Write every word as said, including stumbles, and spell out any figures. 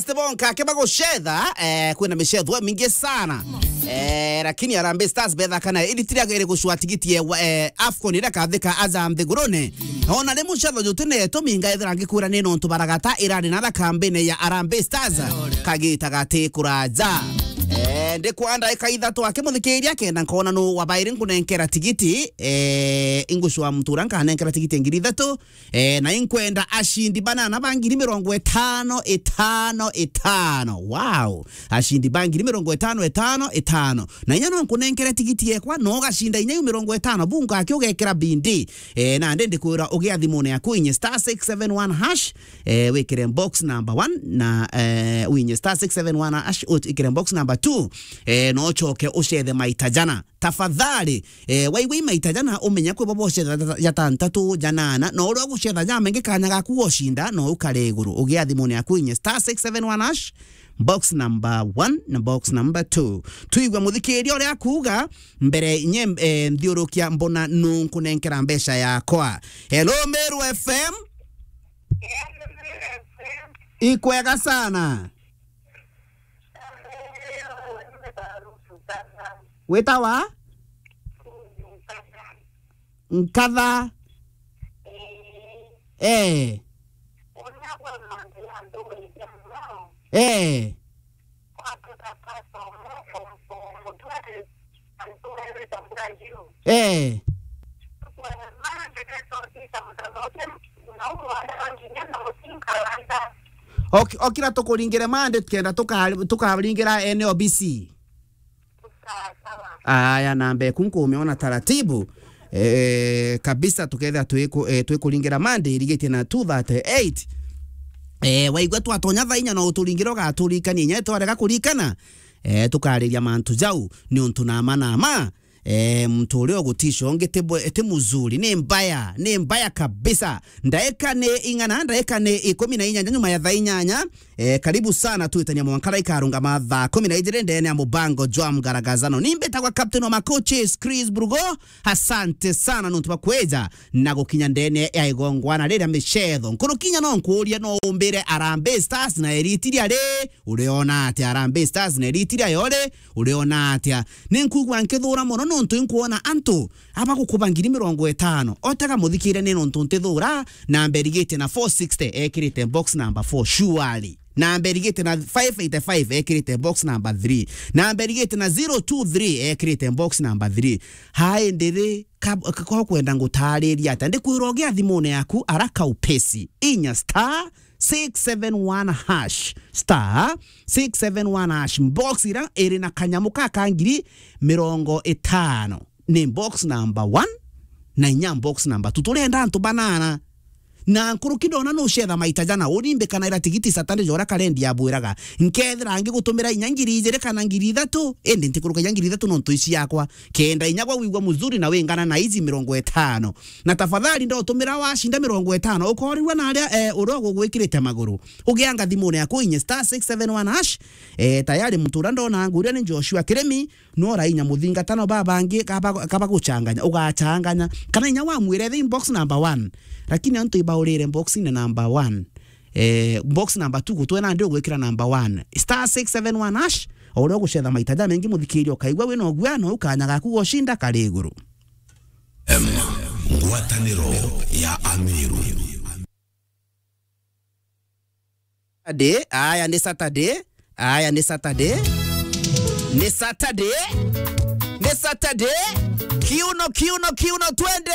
Steve Onka ke bagucetha, eh, kwina micetho mingi sana. Eh, lakini Harambee Stars betha kana iritira gere gucwa tigiti ye, eh, AFCON ira kathika aja nthigurune. Ona ni mucetho jutine tuminga ethira ngikwira ni nontu baragata irari na thakambene ya Harambee Stars. Kagita gati kuraja. Eh, ndi kwa ndaika ithatu akimuthikiria kenda nkona nu wabairi nkunenkera tigiti, eh, ingucwa mutura nkanenkera tigiti ngiri ithatu. Eh, na inkwenda ashindi banana ba ngiri mirongo itano, itano, itano. Wow. Ashindi ba ngiri mirongo itano, itano, itano. Na inya no nkunenkere tigiti yekwa, no ugacinda inya iu mirongo itano. Bunga aki ugekira bindi. Eh, na ndi ndikwira ugia thimune yaku inye star six seven one hash, eh, wikire box number one na, eh, winye star six seven one hash, wikire box number two. Eh, no ucoke ucethe maita jana. Tafadhali, eh, waigua i maita jana, umenya kwi bobo ucetha ja, ja tantatu, ja nana, na uria ugucetha ja mengi kanya gaku gocinda, no ukare iguru. Ugia thimune yaku inye star six seven one hash, box number one na box number two. Tuigua muthikiria uria akuuga, mbere inye, eh, nthiurukia mbona nu nkunenkera mbeca yakwa. Hello, Meru F M. Ikwega sana. Witawa? Nkatha. Eh. Eh. Eh. Ok-, okira tukuringire Monday, kenda tuka-, tukaringira N O B C. Aya, namba eku nkumiona taratibu. Eh, kabisa, tukethira twiku-, eh, twikuringira Monday irigitie na two thirty-eight. Eh, waigua twatonya thaa inya no uturingire ugaturikania inya twarega kurikana. Eh, tukariria mantu jau, ni untu nama nama. Eh, muntu uria ugutisha ungi ti bwe-, ti muzuri, ni mbaya, ni mbaya kabisa. Ndaika ni ing'ana, ndaika ni ikumi na inyanya nyuma ya thaa inyanya. Eh, karibu sana, twitania mwanka ikarungama thaa kumi na ijiri ndene ya mubango jwa mgaragazano. Ni mbitagwa captain wa macoaches, Chris Brugo. Asante sana nontu bwa kweja na gukinya ndene ya igongwana riria micetho. Nkurukinya no nkuurie, no umbire Harambee Stars na eritiria ri? Uriona atia Harambee Stars na eritiria yo ri? Uriona atia? Ni nkuigua nkithura mono nontu inkuona antu aba gukuba ngiri mirongo itano. Otega muthikire ni nontu ntithura, namba irigitie na four sixty ekirite box number four, surely. Namba irigitie na five eighty-five ekirite box number three. Namba irigitie na zero two three ekirite box number three. Hai ndiri ka-, ka-, ka kwenda ngutariria atia? Ndikwira ugia thimune yaku araka upesi. Inya star six seven one hash. Star six seven one hash. Box ira iri na kanyamu ka ka ngiri mirongo itano. Ni box number one na inya box number two. Turenda antu banana. Na nkuruki ndona nucetha maita jana, urimbikanaira tigiti Saturday jora karendi yabwiraga. Nkethira ngigutumira inya ngiri ijiri kana ngiri ithatu, indi ntikuruka inya ngiri ithatu nontu ici yakwa. Kenda inya gwa wigua muzuri na wingana na ici mirongo itano. Na tafadhali ndotumira wacinda mirongo itano, ukorirua na aria, eh, uria ugugwikirite maguru. Ugianga thimune yaku inye star six seven one hash. Eh, tayari muntu uria ndona nguria ni Joshua Kirimi, no rainya muthingatano babangi kaba, kaba guchanganya, ugachanganya. Kana inya wamwire the box number one. Lakini antu ibaurire box ni number one. Eh, box number two gutwe nandi ugwikira number one. Star six seven one hash, o uria ugucetha maita jamengi muthikiria ukaigua wina ugua no ukanya gaku gocinda kari iguru. Em, ngwataniro ya Amiru. Saturday, aya ni Saturday, aya ni Saturday, ni Saturday, ni Saturday. Kiuno, kiuno, kiuno, twende.